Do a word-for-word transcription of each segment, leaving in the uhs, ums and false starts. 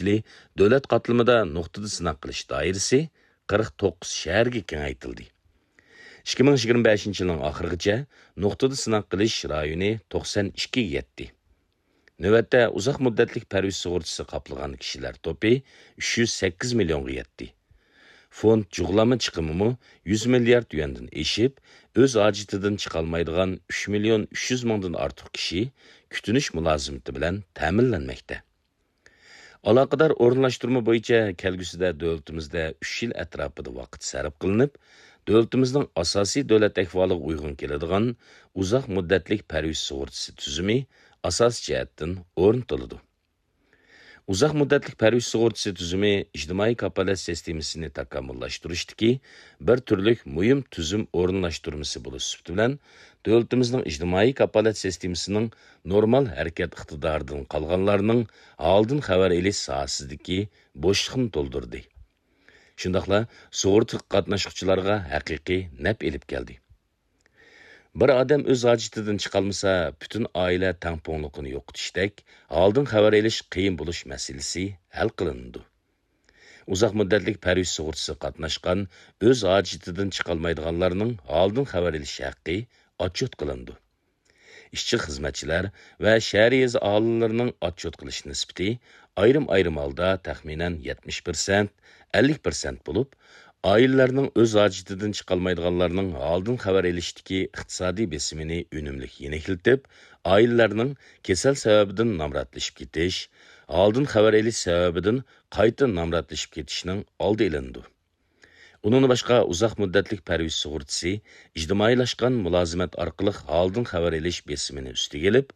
يىلى دۆلەت قاتلىمىدا نۇقتىدا سىناق قىلىش دائىرىسى قىرىق توققۇز شەھەرگە كېڭەيتىلدى. ئىككى مىڭ يىگىرمە بەشىنچى يىلنىڭ ئاخىرىغىچە نۇقتىدا سىناق قىلىش رايونى توقسان ئىككىگە يەتتى. نۆۋەتتە ئۇزاق مۇددەتلىك پەرۋىش سۇغۇرتىسى قاپلىغان كىشىلەر توپى ئۈچ يۈز سەككىز مىليونغا يەتتى. فوند جۇغلانما چىقىمىمۇ يۈز مىليارد يۈەندىن ئېشىپ، ئۆز ھاجىتىدىن چىقالمايدىغان ئۈچ مىليون ئۈچ يۈز مىڭدىن ئارتۇق كىشى كۈتۈنۈش مۇلازىمىتى بىلەن تەمىنلەنمەكتە. ئالاقىدار ئورۇنلاشتۇرما بويىچە كەلگۈسىدە دۆلىتىمىزدە ئۈچ يىل ئەتراپىدا ۋاقىت سەرپ قىلىنىپ، دۆلىتىمىزنىڭ ئاساسىي دۆلەت ئەھۋالىغا ئۇيغۇن كېلىدىغان ئۇزاق مۇددەتلىك پەرۋىش سۇغۇرتىسى تۈزۈمى ئاساسىي جەھەتتىن ئورنىتىلىدۇ. ئۇزاق مۇددەتلىك پەرۋىش سۇغۇرتىسى تۈزۈمى ئىجتىمائىي كاپالەت سىستېمىسىنى تاكامۇللاشتۇرۇشتىكى بىر تۈرلۈك مۇھىم تۈزۈم ئورۇنلاشتۇرمىسى بولۇش سۈپىتى بىلەن، دۆلىتىمىزنىڭ ئىجتىمائىي كاپالەت سىستېمىسىنىڭ نورمال ھەرىكەت ئىقتىدارىدىن قالغانلارنىڭ ھالىدىن خەۋەر ئېلىش ساھەسىدىكى بوشلۇقنى تولدۇردى. شۇنداقلا سۇغۇرتا قاتناشقۇچىلارغا ھەقىقىي نەپ ئېلىپ كەلدى. بىر ئادەم ئۆز ھاجىتىدىن چىقالمىسا، پۈتۈن ئائىلە تەڭپۇڭلۇقىنى يوقىتىشتەك ھالدىن خەۋەر ئېلىش قىيىن بولۇش مەسىلىسى ھەل قىلىنىدۇ. ئۇزاق مۇددەتلىك پەرۋىش سۇغۇرتىسىغا قاتناشقان ئۆز ھاجىتىدىن چىقالمايدىغانلارنىڭ ھالدىن خەۋەر ئېلىش ھەققى ئاتچوت قىلىنىدۇ. ئىشچى-خىزمەتچىلەر ۋە شەھەر يېزا ئاھالىلىرىنىڭ ئاتچوت قىلىش نىسبىتى ئايرىم-ئايرىم ھالدا تەخمىنەن يەتمىش پىرسەنت، ئەللىك پىرسەنت بولۇپ، ئائىلىلەرنىڭ ئۆز ھاجىتىدىن چىقالمايدىغانلارنىڭ ھالدىن خەۋەر ئېلىشتىكى ئىقتىسادىي بېسىمىنى ئۈنۈملۈك يېنىكلىتىپ، ئائىلىلەرنىڭ كېسەل سەۋەبىدىن نامراتلىشىپ كېتىش، ھالدىن خەۋەر ئېلىش سەۋەبىدىن قايتا نامراتلىشىپ كېتىشنىڭ ئالدى ئېلىنىدۇ. ئۇنىڭدىن باشقا، ئۇزاق مۇددەتلىك پەرۋىش سۇغۇرتىسى ئىجتىمائىيلاشقان مۇلازىمەت ئارقىلىق ھالدىن خەۋەر ئېلىش بېسىمىنى ئۈستىگە ئېلىپ،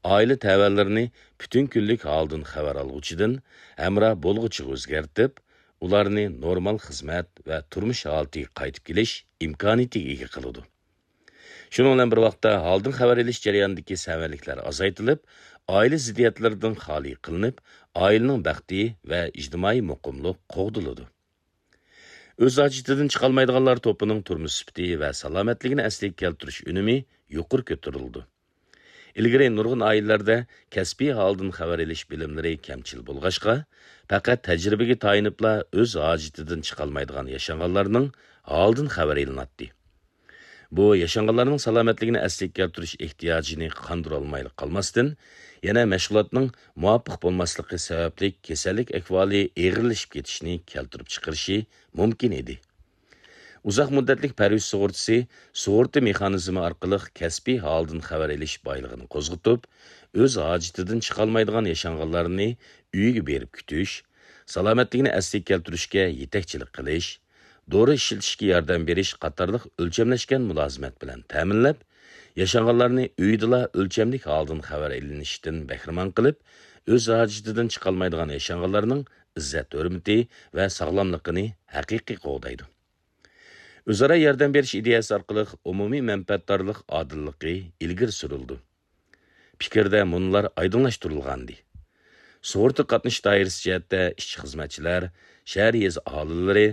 ئائىلە تەۋەلىرىنى پۈتۈن كۈنلۈك ھالدىن خەۋەر ئالغۇچىدىن ھەمراھ بولغۇچىغا ئۆزگەرتىپ، ئۇلارنى نورمال خىزمەت ۋە تۇرمۇش ھالىتىگە قايتىپ كېلىش ئىمكانىيىتىگە ئىگە قىلىدۇ. شۇنىڭ بىلەن بىر ۋاقىتتا، ھالدىن خەۋەر ئېلىش جەريانىدىكى سەۋەنلىكلەر ئازايتىلىپ، ئائىلە زىددىيەتلىرىدىن خالىي قىلىنىپ، ئائىلىنىڭ بەختى ۋە ئىجتىمائىي مۇقىملىق قوغدىلىدۇ. ئۆز ھاجىتىدىن چىقالمايدىغانلار توپىنىڭ تۇرمۇش سۈپىتى ۋە سالامەتلىكىنى ئەسلىگە كەلتۈرۈش ئۈنۈمى يۇقىرى كۆتۈرۈلىدۇ. ئىلگىرى نۇرغۇن ئائىلىلەردە كەسپىي ھالدىن خەۋەر ئېلىش بىلىملىرى كەمچىل بولغاچقا، پەقەت تەجرىبىگە تايىنىپلا ئۆز ھاجىتىدىن چىقالمايدىغان ياشانغانلارنىڭ ھالىدىن خەۋەر ئېلىناتتى. بۇ ياشانغانلارنىڭ سالامەتلىكىنى ئەسلىگە كەلتۈرۈش ئېھتىياجىنى قاندۇرالمايلا قالماستىن، يەنە مەشغۇلاتنىڭ مۇۋاپىق بولماسلىقى سەۋەبلىك كېسەللىك ئەھۋالى ئېغىرلىشىپ كېتىشىنى كەلتۈرۈپ چىقىرىشى مۇمكىن ئىدى. ئۇزاق مۇددەتلىك پەرۋىش سۇغۇرتىسى سۇغۇرتا مېخانىزمى ئارقىلىق كەسپىي ھالدىن خەۋەر ئېلىش بايلىقىنى قوزغىتىپ، ئۆز ھاجىتىدىن چىقالمايدىغان ياشانغانلارنى ئۆيىگە بېرىپ كۈتۈش، سالامەتلىكىنى ئەسلىگە كەلتۈرۈشكە يېتەكچىلىك قىلىش، دورا ئىشلىتىشكە ياردەم بېرىش قاتارلىق ئۆلچەملەشكەن مۇلازىمەت بىلەن تەمىنلەپ، ياشانغانلارنى ئۆيىدىلا ئۆلچەملىك ھالدىن خەۋەر ئېلىنىشتىن بەھرىمەن قىلىپ، ئۆز ھاجىتىدىن چىقالمايدىغان ياشانغانلارنىڭ ئىززەت-ھۆرمىتى ۋە ساغلاملىقىنى ھەقىقىي قوغدايدۇ. ئۆزئارا ياردەم بېرىش ئىدىيەسى ئارقىلىق ئومۇمىي مەنپەئەتدارلىق ئادىللىقى ئىلگىرى سۈرۈلىدۇ. پىكىردە مۇنۇلار ئايدىڭلاشتۇرۇلغانىدى: سۇغۇرتا قاتنىشىش دائىرىسى جەھەتتە ئىشچى-خىزمەتچىلەر، شەھەر يېزا ئاھالىلىرى،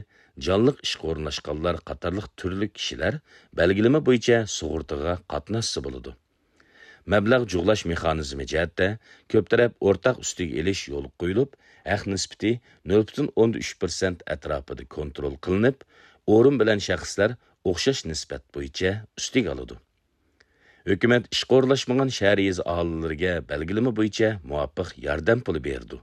جانلىق ئىشقا ئورۇنلاشقانلار قاتارلىق تۈرلۈك كىشىلەر بەلگىلىمە بويىچە سۇغۇرتىغا قاتناشسا بولىدۇ. مەبلەغ جۇغلاش مېخانىزمى جەھەتتە كۆپ تەرەپ ئورتاق ئۈستىگە ئېلىش يولغا قويۇلۇپ، ھەق نىسبىتى نۆل پۈتۈن ئوندىن ئۈچ پىرسەنت ئەتراپىدا كونترول قىلىنىپ، ئورۇن بىلەن شەخسلەر ئوخشاش نىسبەت بويىچە ئۈستىگە ئالىدۇ. ھۆكۈمەت ئىشقا ئورۇنلاشمىغان شەھەر يېزا ئاھالىلىرىگە بەلگىلىمە بويىچە مۇۋاپىق ياردەم پۇلى بېرىدۇ.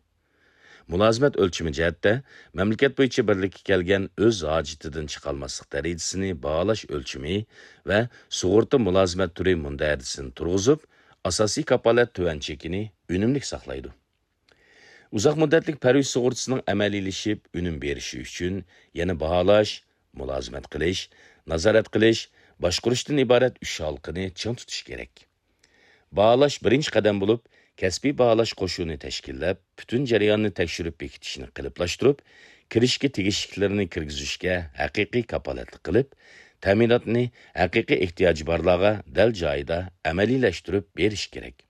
مۇلازىمەت ئۆلچىمى جەھەتتە، مەملىكەت بويىچە بىرلىككە كەلگەن ئۆز ھاجىتىدىن چىقالماسلىق دەرىجىسىنى باھالاش ئۆلچىمى ۋە سۇغۇرتا مۇلازىمەت تۈرى مۇندەرىجىسىنى تۇرغۇزۇپ، ئاساسىي كاپالەت تۆۋەن چېكىنى ئۈنۈملۈك ساقلايدۇ. ئۇزاق مۇددەتلىك پەرۋىش سۇغۇرتىسىنىڭ ئەمەلىيلىشىپ ئۈنۈم بېرىشى ئۈچۈن يەنە باھالاش، مۇلازىمەت قىلىش، نازارەت قىلىش، باشقۇرۇشتىن ئىبارەت ئۈچ ھالقىنى چىڭ تۇتۇش كېرەك. باھالاش بىرىنچى قەدەم بولۇپ، كەسپىي باھالاش قوشۇنى تەشكىللەپ، پۈتۈن جەرياننى تەكشۈرۈپ بېكىتىشنى قېلىپلاشتۇرۇپ، كىرىشكە تېگىشلىكلىرىنى كىرگۈزۈشكە ھەقىقىي كاپالەتلىك قىلىپ، تەمىناتنى ھەقىقىي ئېھتىياجى بارلارغا دەل جايىدا ئەمەلىيلەشتۈرۈپ بېرىش كېرەك.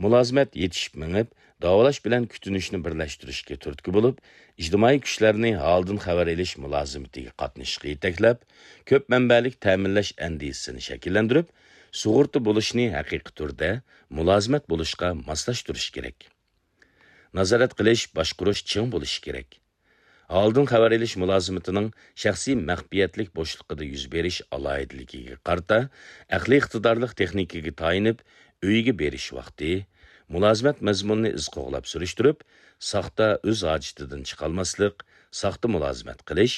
مۇلازىمەت يېتىشىپ مېڭىپ، داۋالاش بىلەن كۈتۈنۈشنى بىرلەشتۈرۈشكە تۈرتكە بولۇپ، ئىجتىمائىي كۈچلەرنى ھالدىن خەۋەر ئېلىش مۇلازىمىتىگە قاتنىشىشقا يېتەكلەپ، كۆپ مەنبەلىك تەمىنلەش ئەندىزىسىنى شەكىللەندۈرۈپ، سۇغۇرتا بولۇشنى ھەقىقىي تۈردە مۇلازىمەت بولۇشقا ماسلاشتۇرۇش كېرەك. نازارەت قىلىش، باشقۇرۇش چىڭ بولۇشى كېرەك. ھالدىن خەۋەر ئېلىش مۇلازىمىتىنىڭ شەخسىي مەخپىيەتلىك بوشلۇقىدا يۈز بېرىش ئالاھىدىلىكىگە قارىتا، ئەقلىي ئىقتىدارلىق تېخنىكىگە تايىنىپ، ئۆيىگە بېرىش ۋاقتى، مۇلازىمەت مەزمۇنىنى ئىز قوغلاپ سۈرۈشتۈرۈپ، ساختا ئۆز ھاجىتىدىن چىقالماسلىق، ساختا مۇلازىمەت قىلىش،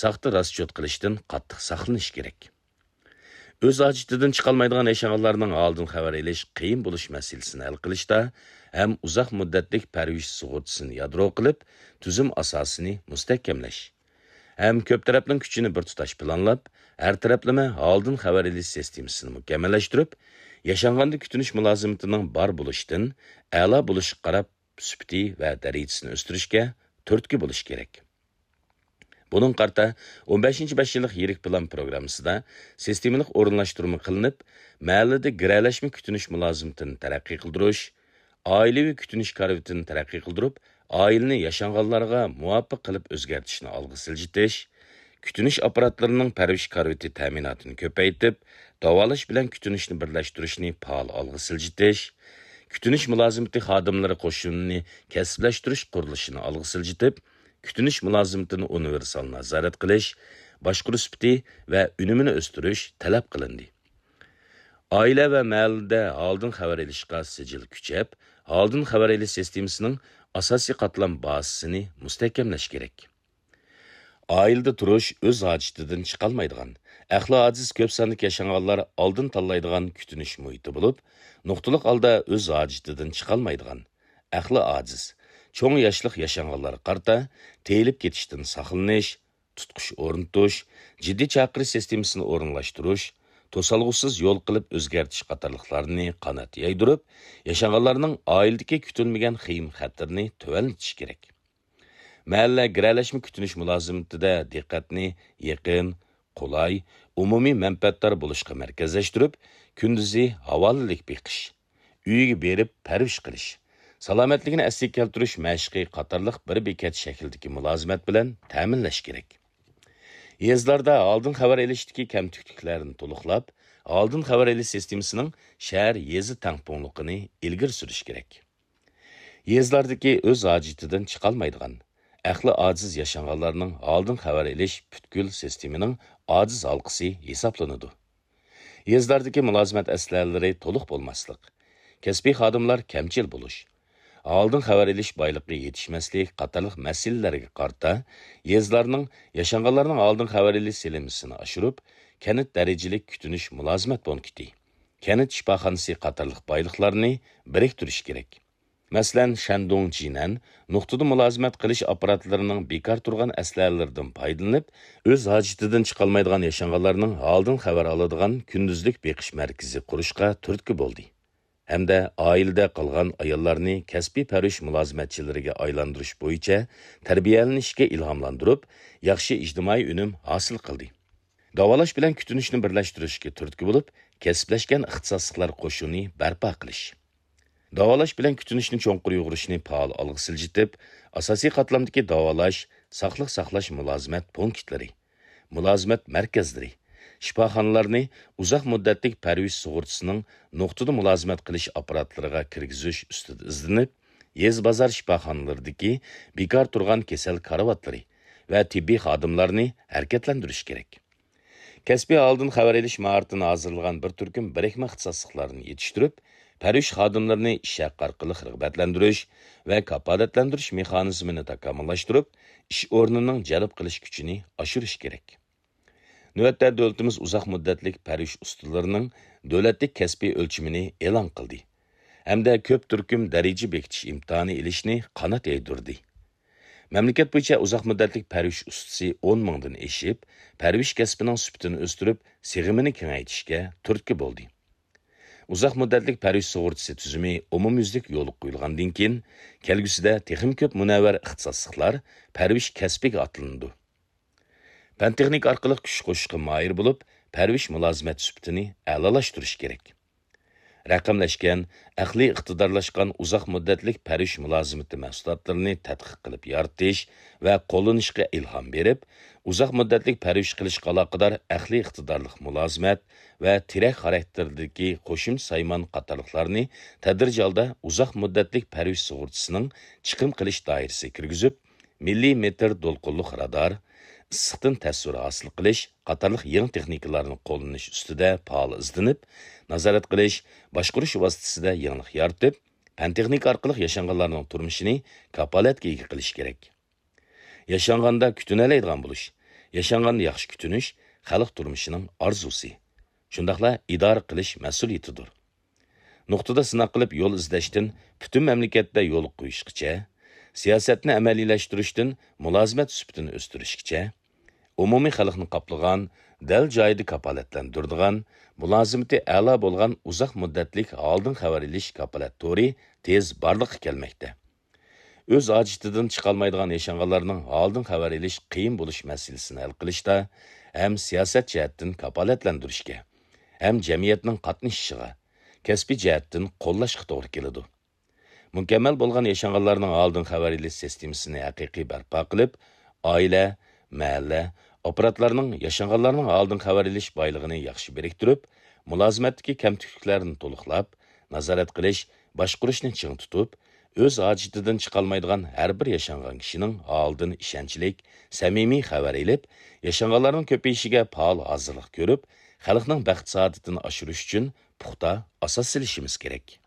ساختا راسچوت قىلىشتىن قاتتىق ساقلىنىش كېرەك. ئۆز ھاجىتىدىن چىقالمايدىغان ياشانغانلارنىڭ ھالدىن خەۋەر ئېلىش قىيىن بولۇش مەسىلىسىنى ھەل قىلىشتا ھەم ئۇزاق مۇددەتلىك پەرۋىش سۇغۇرتىسىنى يادرو قىلىپ، تۈزۈم ئاساسىنى مۇستەھكەملەش ھەم كۆپ تەرەپنىڭ كۈچىنى بىر تۇتاش پىلانلاپ، ھەر تەرەپلىمە ھالدىن خەۋەر ئېلىش سىستېمىسىنى مۇكەممەللەشتۈرۈپ، ياشانغاندا كۈتۈنۈش مۇلازىمىتىنىڭ بار بولۇشتىن ئەلا بولۇشقا قاراپ سۈپىتى ۋە دەرىجىسىنى ئۆستۈرۈشكە تۈرتكە بولۇش كېرەك. بۇنىڭغا قارىتا، ئون بەشىنچى بەش يىللىق يىرىك پىلان پروگراممىسىدا سىستېمىلىق ئورۇنلاشتۇرما قىلىنىپ، مەھەللىدە گىرەلەشمە كۈتۈنۈش مۇلازىمىتىنى تەرەققىي قىلدۇرۇش، ئائىلىۋى كۈتۈنۈش كارىۋىتىنى تەرەققىي قىلدۇرۇپ، ئائىلىنى ياشانغانلارغا مۇۋاپىق قىلىپ ئۆزگەرتىشنى ئالغا سىلجىتىش، كۈتۈنۈش ئاپپاراتلىرىنىڭ پەرۋىش كارىۋىتى تەمىناتىنى كۆپەيتىپ، داۋالاش بىلەن كۈتۈنۈشنى بىرلەشتۈرۈشنى پائال ئالغا سىلجىتىش، كۈتۈنۈش مۇلازىمىتى خادىملىرى قوشۇنىنى كەسىپلەشتۈرۈش قۇرۇلۇشىنى ئالغا سىلجىتىپ، كۈتۈنۈش مۇلازىمىتىنى ئۇنىۋېرسال نازارەت قىلىش، باشقۇرۇش سۈپىتى ۋە ئۈنۈمىنى ئۆستۈرۈش تەلەپ قىلىندى. ئائىلە ۋە مەھەللىدە ھالدىن خەۋەر ئېلىشقا سىجىل كۈچەپ، ھالدىن خەۋەر ئېلىش سىستېمىسىنىڭ ئاساسىي قاتلام بازىسىنى مۇستەھكەملەش كېرەك. ئائىلىدە تۇرۇش ئۆز ھاجىتىدىن چىقالمايدىغان، ئەقلى ئاجىز كۆپ ساندىكى ياشانغانلار ئالدىن تاللايدىغان كۈتۈنۈش مۇھىتى بولۇپ، نۇقتىلىق ھالدا ئۆز ھاجىتىدىن چىقالمايدىغان، ئەقلى ئاجىز، چوڭ ياشلىق ياشانغانلارغا قارىتا تېيىلىپ كېتىشتىن ساقلىنىش، تۇتقۇچ ئورنىتىش، جىددىي چاقىرىش سىستېمىسىنى ئورۇنلاشتۇرۇش، توسالغۇسىز يول قىلىپ ئۆزگەرتىش قاتارلىقلارنى قانات يايدۇرۇپ، ياشانغانلارنىڭ ئائىلىدىكى كۈتۈلمىگەن خېيىم خەتىرىنى تۆۋەنلىتىش كېرەك. مەھەللە گىرەلەشمە كۈتۈنۈش مۇلازىمىتىدە دىققەتنى يېقىن، قولاي، ئومۇمىي مەنپەئەتدار بولۇشقا مەركەزلەشتۈرۈپ، كۈندۈزى ھاۋالىلىك بېقىش، ئۆيىگە بېرىپ پەرۋىش قىلىش، سالامەتلىكىنى ئەسلىگە كەلتۈرۈش مەشقى قاتارلىق بىر بېكەت شەكلىدىكى مۇلازىمەت بىلەن تەمىنلەش كېرەك. يېزىلاردا ئالدىن خەۋەر ئېلىشتىكى كەمتۈكلۈكلەرنى تولۇقلاپ، ئالدىن خەۋەر ئېلىش سىستېمىسىنىڭ شەھەر، يېزا تەڭپۇڭلۇقىنى ئىلگىرى سۈرۈش كېرەك. يېزىلاردىكى ئۆز ھاجىتىدىن چىقالمايدىغان، ئەقلى ئاجىز ياشانغانلارنىڭ ھالدىن خەۋەر ئېلىش پۈتكۈل سىستېمىنىڭ ئاجىز ھالقىسى ھېسابلىنىدۇ. يېزىلاردىكى مۇلازىمەت ئەسلىھەلىرى تولۇق بولماسلىق، كەسپىي خادىملار كەمچىل بولۇش، ھالدىن خەۋەر ئېلىش بايلىقى يېتىشمەسلىك قاتارلىق مەسىلىلەرگە قارىتا يېزىلارنىڭ ياشانغانلارنىڭ ھالدىن خەۋەر ئېلىش سېلىنمىسىنى ئاشۇرۇپ، كەنت دەرىجىلىك كۈتۈنۈش مۇلازىمەت پونكىتى، كەنت شىپاخانىسى قاتارلىق بايلىقلارنى بىرىكتۈرۈش كېرەك. مەسىلەن، شەندۇڭ جىنەن نۇقتىدا مۇلازىمەت قىلىش ئاپپاراتلىرىنىڭ بىكار تۇرغان ئەسلىھەلىرىدىن پايدىلىنىپ، ئۆز ھاجىتىدىن چىقالمايدىغان ياشانغانلارنىڭ ھالدىن خەۋەر ئالىدىغان كۈندۈزلۈك بېقىش مەركىزى قۇرۇشقا تۈرتكە بولدى ھەمدە ئائىلىدە قالغان ئاياللارنى كەسپىي پەرۋىش مۇلازىمەتچىلىرىگە ئايلاندۇرۇش بويىچە تەربىيەلىنىشكە ئىلھاملاندۇرۇپ، ياخشى ئىجتىمائىي ئۈنۈم ھاسىل قىلدى. داۋالاش بىلەن كۈتۈنۈشنى بىرلەشتۈرۈشكە تۈرتكە بولۇپ، كەسىپلەشكەن ئىختىساسلىقلار قوشۇنى بەرپا قىلىش. داۋالاش بىلەن كۈتۈنۈشنى چوڭقۇر يۇغۇرۇشنى پائال ئالغا سىلجىتىپ، ئاساسىي قاتلامدىكى داۋالاش، ساقلىق ساقلاش مۇلازىمەت پونكىتلىرى، مۇلازىمەت مەركەزلىرى، شىپاخانىلارنى ئۇزاق مۇددەتلىك پەرۋىش سۇغۇرتىسىنىڭ نۇقتىدا مۇلازىمەت قىلىش ئاپپاراتلىرىغا كىرگۈزۈش ئۈستىدە ئىزدىنىپ، يېزا بازار شىپاخانىلىرىدىكى بىكار تۇرغان كېسەل كارىۋاتلىرى ۋە تېببىي خادىملارنى ھەرىكەتلەندۈرۈش كېرەك. كەسپىي ھالدىن خەۋەر ئېلىش ماھارىتىنى ھازىرلىغان بىر تۈركۈم بىرىكمە ئىختىساسلىقلارنى يېتىشتۈرۈپ، پەرۋىش خادىملىرىنى ئىش ھەققى ئارقىلىق رىغبەتلەندۈرۈش ۋە كاپالەتلەندۈرۈش مېخانىزمىنى تاكامۇللاشتۇرۇپ، ئىش ئورنىنىڭ جەلپ قىلىش كۈچىنى ئاشۇرۇش كېرەك. نۆۋەتتە دۆلىتىمىز ئۇزاق مۇددەتلىك پەرۋىش ئۇستىلىرىنىڭ دۆلەتلىك كەسپىي ئۆلچىمىنى ئېلان قىلدى ھەمدە كۆپ تۈركۈم دەرىجە بېكىتىش ئىمتىھانى ئېلىشنى قانات يايدۇردى. مەملىكەت بويىچە ئۇزاق مۇددەتلىك پەرۋىش ئۇستىسى ئون مىڭدىن ئېشىپ، پەرۋىش كەسپىنىڭ سۈپىتىنى ئۆستۈرۈپ، سىغىمىنى كېڭەيتىشكە تۈرتكە بولدى. ئۇزاق مۇددەتلىك پەرۋىش سۇغۇرتىسى تۈزۈمى ئومۇميۈزلۈك يولغا قويۇلغاندىن كېيىن، كەلگۈسىدە تېخىمۇ كۆپ مۇنەۋۋەر ئىختىساسلىقلار پەرۋىش كەسپىگە ئاتلىنىدۇ. پەن-تېخنىكا ئارقىلىق كۈچ قوشۇشقا ماھىر بولۇپ، پەرۋىش مۇلازىمەت سۈپىتىنى ئەلالاشتۇرۇش كېرەك. رەقەملەشكەن، ئەقلىي ئىقتىدارلاشقان ئۇزاق مۇددەتلىك پەرۋىش مۇلازىمىتى مەھسۇلاتلىرىنى تەتقىق قىلىپ يارىتىش ۋە قوللىنىشقا ئىلھام بېرىپ، ئۇزاق مۇددەتلىك پەرۋىش قىلىشقا ئالاقىدار ئەقلىي ئىقتىدارلىق مۇلازىمەت ۋە تىرەك خاراكتېرىدىكى قوشۇمچە سايمان قاتارلىقلارنى تەدرىجىي ھالدا ئۇزاق مۇددەتلىك پەرۋىش سۇغۇرتىسىنىڭ چىقىم قىلىش دائىرىسىگە كىرگۈزۈپ، مىللىمېتىر دولقۇنلۇق رادار، ئىسسىقتىن تەسۋىر ھاسىل قىلىش قاتارلىق يېڭى تېخنىكىلارنى قوللىنىش ئۈستىدە پائال ئىزدىنىپ، نازارەت قىلىش، باشقۇرۇش ۋاسىتىسىدە يېڭىلىق يارىتىپ، پەن-تېخنىكا ئارقىلىق ياشانغانلارنىڭ تۇرمۇشىنى كاپالەتكە ئىگە قىلىش كېرەك. ياشانغاندا كۈتۈنەلەيدىغان بولۇش، ياشانغاندا ياخشى كۈتۈنۈش خەلق تۇرمۇشىنىڭ ئارزۇسى، شۇنداقلا ئىدارە قىلىش مەسئۇلىيىتىدۇر. نۇقتىدا سىناق قىلىپ يول ئىزدەشتىن پۈتۈن مەملىكەتتە يول قويۇشقىچە، سىياسەتنى ئەمەلىيلەشتۈرۈشتىن مۇلازىمەت سۈپىتىنى ئۆستۈرۈشكىچە، ئومۇمىي خەلقنى قاپلىغان، دەل جايىدا كاپالەتلەندۈرىدىغان، مۇلازىمىتى ئەلا بولغان ئۇزاق مۇددەتلىك ھالدىن خەۋەر ئېلىش كاپالەت تورى تېز بارلىققا كەلمەكتە. ئۆز ھاجىتىدىن چىقالمايدىغان ياشانغانلارنىڭ ھالدىن خەۋەر ئېلىش قىيىن بولۇش مەسىلىسىنى ھەل قىلىشتا ھەم سىياسەت جەھەتتىن كاپالەتلەندۈرۈشكە، ھەم جەمئىيەتنىڭ قاتنىشىشىغا، كەسپىي جەھەتتىن قوللاشقا توغرا كېلىدۇ. مۇكەممەل بولغان ياشانغانلارنىڭ ھالدىن خەۋەر ئېلىش سىستېمىسىنى ھەقىقىي بەرپا قىلىپ، ئائىلە، مەھەللە، ئاپپاراتلارنىڭ ياشانغانلارنىڭ ھالدىن خەۋەر ئېلىش بايلىقىنى ياخشى بىرىكتۈرۈپ، مۇلازىمەتتىكى كەمتۈكلۈكلەرنى تولۇقلاپ، نازارەت قىلىش، باشقۇرۇشنى چىڭ تۇتۇپ، ئۆز ھاجىتىدىن چىقالمايدىغان ھەر بىر ياشانغان كىشىنىڭ ھالىدىن ئىشەنچلىك، سەمىمىي خەۋەر ئېلىپ، ياشانغانلارنىڭ كۆپىيىشىگە پائال ھازىرلىق كۆرۈپ، خەلقنىڭ بەخت-سائادىتىنى ئاشۇرۇش ئۈچۈن پۇختا ئاساس سېلىشىمىز كېرەك.